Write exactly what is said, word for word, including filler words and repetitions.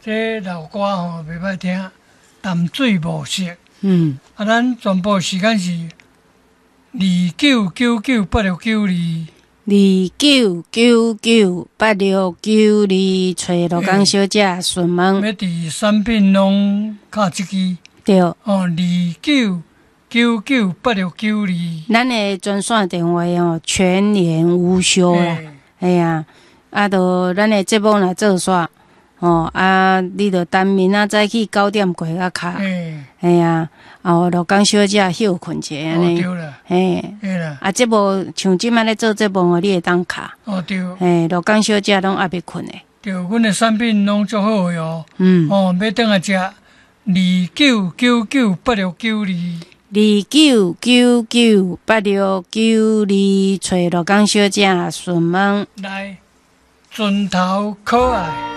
這老歌吼袂歹聽，淡水暮色。嗯，啊，咱全部時間是二九九九八六九二。二九九九八六九二，揣羅江小姐詢問。欲佇產品攏敲這支。對。哦，二九九九八六九二。咱的專線電話哦，全年無休啦。嘿啊，啊，著咱的節目若做煞，哦，啊，你著等明仔載起九點過才敲。嘿啊，哦，羅江小姐歇睏者按呢。對啦。嘿。對啦。啊，節目像這擺咧做節目哦，你會當敲。哦，對。嘿，羅江小姐攏猶未睏的。對，阮的產品攏足好的哦。嗯。哦，欲轉來食，二九九九八六九二。二九九九八六九二，揣羅江小姐詢問。來，船頭可愛。